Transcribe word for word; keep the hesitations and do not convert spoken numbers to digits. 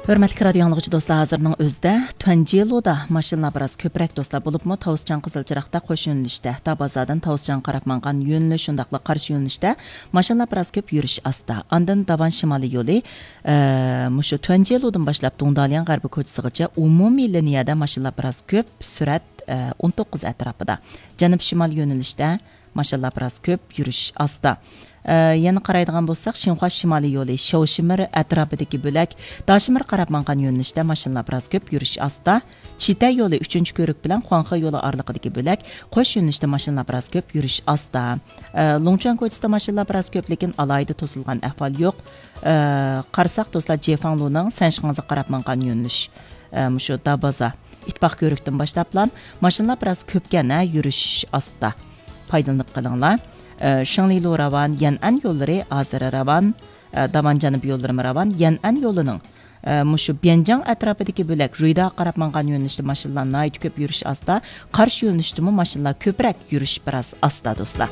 ھۆرمەتلىك رادىيو ئاڭلىغۇچى دوستلار، ھازىرنىڭ ئۆزىدە تۇەنجيېلۇدا ماشىنىلار بىراز كۆپرەك دوستلار، بولۇپمۇ تاۋۇسچاڭ قىزىل چىراغدا قوش يۆنىلىشتە، دابازادىن تاۋۇسچاڭغا قاراپ ماڭغان يۆنىلىش، شۇنداقلا قارشى يۆنىلىشتە ماشىنىلار بىراز كۆپ، يۈرۈش ئاستا. ئاندىن داۋان شىمالىي يولى، ئە، مۇشۇ تۇەنجيېلۇدىن باشلاپ دۇڭدالياڭ غەربىي كوچىسىغىچە ئومۇمىي لىنىيەدە ماشىنىلار بىراز كۆپ، سۈرئەت، ئە، ئون توققۇز ئەتراپىدا. جەنۇب شىمال يۆنىلىشتە ماشىنىلار بىراز كۆپ، يۈرۈش ئاستا. ئە، يەنە قارايدىغان بولساق، شىنخۇا شىمالىي يولى شياۋشىمىر ئەتراپىدىكى بۆلەك، داشىمىرغا قاراپ ماڭغان يۆنىلىشتە ماشىنىلار بىراز كۆپ، يۈرۈش ئاستا. چىتە يولى ئۈچىنچى كۆۋرۈك بىلەن خۇاڭخې يولى ئارىلىقىدىكى بۆلەك، قوش يۆنىلىشتە ماشىنىلار بىراز كۆپ، يۈرۈش ئاستا. ئە، لۇڭچۈەن كوچىسىدا ماشىنىلار بىراز كۆپ، لېكىن ئالاھىدە توسۇلغان ئەھۋال يوق. ئە، قارىساق دوستلار، جيېفاڭلۇنىڭ سەنشىڭزىغا قاراپ ماڭغان يۆنىلىش، ئە، مۇشۇ دابازا، ئىتتىپاق كۆۋرۈكتىن باشلاپلا ماشىنىلار بىراز كۆپكەن، ھە، يۈرۈش ئاستا. پايدىلىنىپ قېلىڭلار. ئە، شېڭلىلۇ راۋان، يەنئەن يوللىرى ھازىر راۋان، ئە، داۋان جەنۇبىي يوللىرىمۇ راۋان، يەنئەن يولىنىڭ، ئە، مۇشۇ بيەنجاڭ ئەتراپىدىكى بۆلەك رۇيداغا قاراپ ماڭغان يۆنىلىشتە ماشىنىلار ناھايىتى كۆپ، يۈرۈش ئاستا. قارشى يۆنىلىشتىمۇ ماشىنىلار كۆپرەك، يۈرۈش بىراز ئاستا، دوستلار.